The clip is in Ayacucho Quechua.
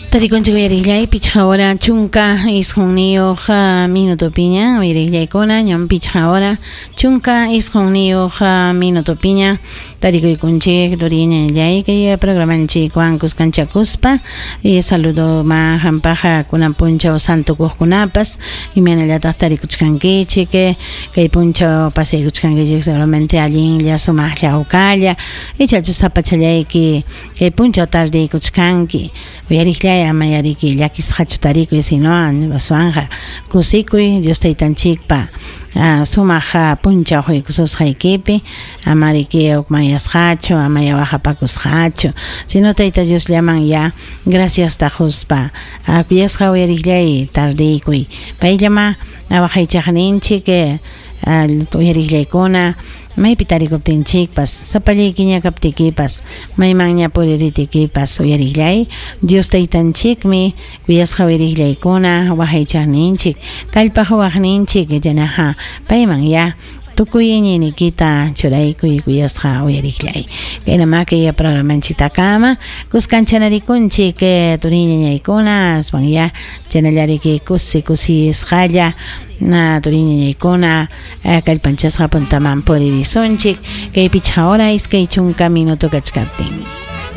Tarikunchik uyariqllay pichqa hora 19 minutopiña uyariqllaykuna ñam pichqa hora 19 minutopiña tarikuykunchik turiñallay kay programanchikwan kuskanchakuspa y saludo ma hampaqa kunan punchaw santukuqkunapas imaynallataq tarikuchkankichik kay punchaw pasaykuchkankichik seguramente allinlla sumaqlla hawkalla ichachu sapachallayki kay punchaw tardeykuchkanki uyariqllay ama yariki llakisqachu tarikuy sino aswanqa kusikuy Dios taytanchikpa sumaq punchaw quykususqaykipi amariki hukmanyasqachu ama waqapakusqachu sino tayta Diosllaman ya graciasta quspa kuyasqa uyariqllay tardeykuy payllama waqaychaqninchik uyariqllaykuna maypi tarikuptinchikpas sapallaykiña kaptikipas maymanña puriritikipas uyariqllay Dios taytanchikmi kuyasqa uyariqllaykuna waqaychaqninchik kallpaq waqninchik chaynaqa payman ya tukuy iñiyniykita churaykuy kuyasqa uyariqllay kaynama kay programanchiktakama kuskanchanarikunchik turiñañaykuna aswan ya chaynallariki kusi kusisqalla na turiñañaykuna kallpanchasqa puntaman puririsunchik kay pichqa hora 20 minuto kachkaptin.